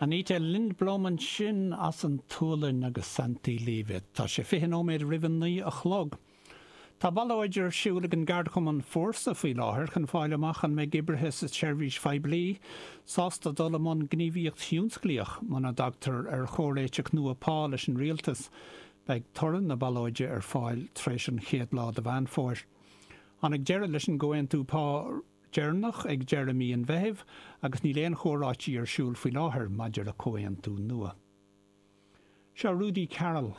Anita Lindblom ansin as an tSualainn agus Santiliivet. Tá sé 20 nóiméad roimh a 9 a chlog. Tá ballóid ar siúl ag an gceardchumann Fórsa faoi láthair chun fáil amach an mbeidh oibrithe sa tseirbhís phoiblí sásta dul i mbun gníomhaíocht thionsclaíoch muna dtagtar ar chomhréiteach nua pá leis an rialtas. Beidh toradh na ballóide ar fáil tar éis an chéad lá de Mheán Fómhair. Tháinig deireadh leis an gcomhaontú pá deireanach ag deireadh mí an Mheithimh agus níl aon chomhráití ar siúl faoi láthair maidir le comhaontú nua. Seo Rudi Carrell.